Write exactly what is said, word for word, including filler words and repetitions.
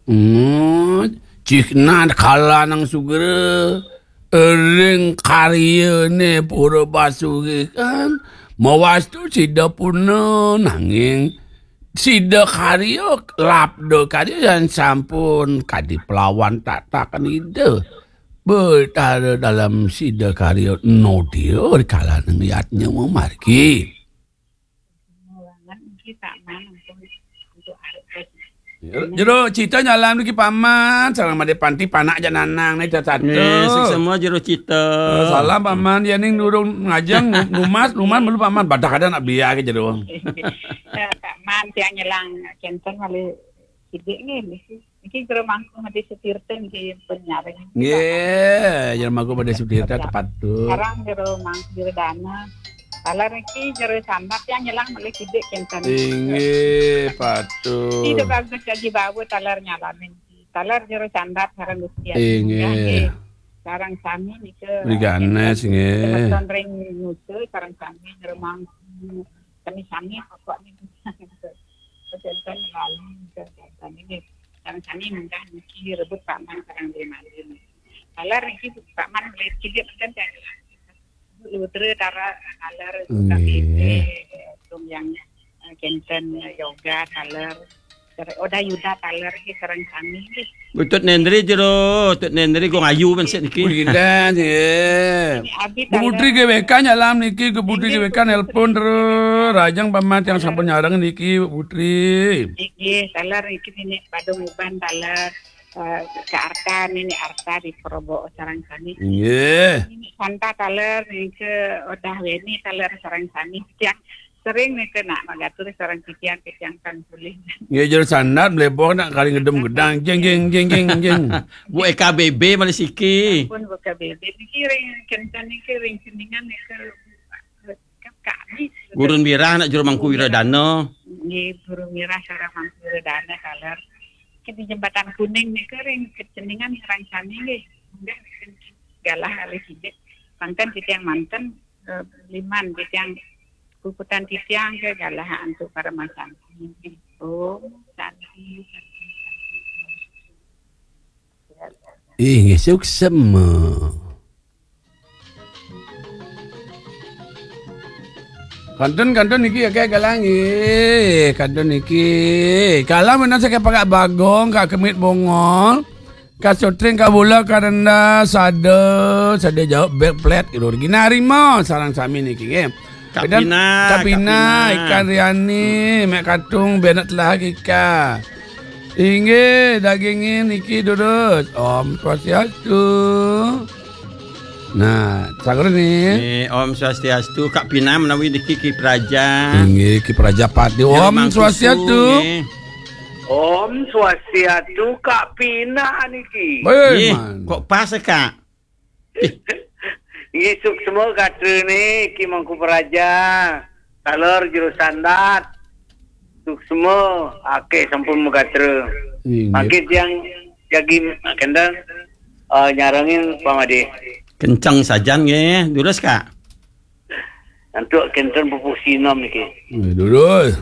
Hmm, cihna kala nang sugra, ring karyane Pura Basuri kan, mawastu sida puna nanging sida karya, labda karya yan sampun kadi pelawan tataken Ida. Betara dalam sida karya nodia kalaning yatnya mamargi. Nggih, Pak Man, untuk, untuk arep. Ya, Jero Cita nyalam niki Paman, sareng Made Panti panak aja nanang nih tatu. Nggih, sing semua Jero Cita. Eh, salam Paman, ya ning durung ngajeng nu-, numas, numas melu Paman, badah ada nak biar ke Jero. Eh, Pak Man, tiang nyelang kenten malih sidik nggih, niki. Niki Jero Mangku Made Sutirta niki pun nyaring. Nggih, Jero Mangku Made Sutirta tepat tuh. Sekarang Jero Mangku Jero Dana. Taler niki Jero Sambat yang nyelang malih sidik kenten. Inggih, patut. Ida bagus kaji bawa taler nyalamin. Taler Jero Sambat sareng Gusti Agung. Inggih. Nggih. Sareng sami nika. Beli ganes, nggih. Semeton ring Nusa sareng sami Jero Mangku. Sami-sami pokoknya. Kenten lalu kenten ini. Sareng sami munggah niki rebut Pak Man sareng Beli Mali. Taler niki Pak Man beli sidik kenten. Lutra tara taler Nggih. K B P, tung yang, eh, kenten, eh, yoga taler. Tere-, Oda Yuda taler nggih sareng sami nggih. Butut Nendri Jero, Tut Nendri Gong Ayu ben sik niki. Budi Kinten, nggih. Ini Abi Bu Putri taler. G W K nyalam niki, ke Putri Nggih, G W K Bu Putri. Nelpon terus, rajang pamat yang sampun nyareng niki, Bu Putri. Nggih, taler niki nini Badung Uban taler. Eh, Kak Arta, Nini Arta di Probo sareng sami. Nggih. Nini Santa taler, niki Odah Weni taler sareng sami. Tiang sering niki nak magatur sareng titiang, titiang kang pulih. Nggih, Jero Sandat mlebok nak kali ngedem gedang. Jeng, jeng, jeng, jeng, jeng. Bu E K B B malih siki. Pun buka bebek niki ring kenten niki ring sendingan niki kami. Gurun Wirah nak Jero Mangku Wiradana. Nggih, Gurun Wirah sareng Mangku Wiradana taler. Ke di Jembatan Kuning niki ring keceningan sareng sami nggih. Nggih, galah alih sidik. Mangken titiang manten, eh, liman titiang kukutan titiang ke galah antuk para masanti. Om Santi. Inggih, suksema. Kantun, kantun niki akeh galang nggih. Kantun niki. Galang menawi saking Pakak Bagong, Kak Kemit Bongol, Kak Sutring, Kak Bula, Kak Rendah, sada, sada jawab bek plet gitu. Ginarima sareng sami niki nggih. Kak Kemudian Pina, Kak Kak Pina, Pina. Ikan Riani, Mek Katung, Benet lah Kika. Inggih, dagingin niki durus. Om Swastiastu. Nah, sakur nih. Nggih, Om Swastiastu, Kak Pina menawi niki Ki Praja. Inggih, Ki Praja Pati. Jero Om Mangkusu, Swastiastu. Nggih. Om Swastiastu, Kak Pina niki. Baik, Nggih, man. Kok pas ya, Kak? Nggih, suksma gatra niki Mangku Praja. Taler Jero Sandat. Suksma, akeh sampun magatra. Inggih. Mangkin tiang jagi kenten, eh, nyarengin Pak Made. Kenceng sajan nggih, durus, Kak. Antuk kenten pupuh sinem niki. Nggih, durus.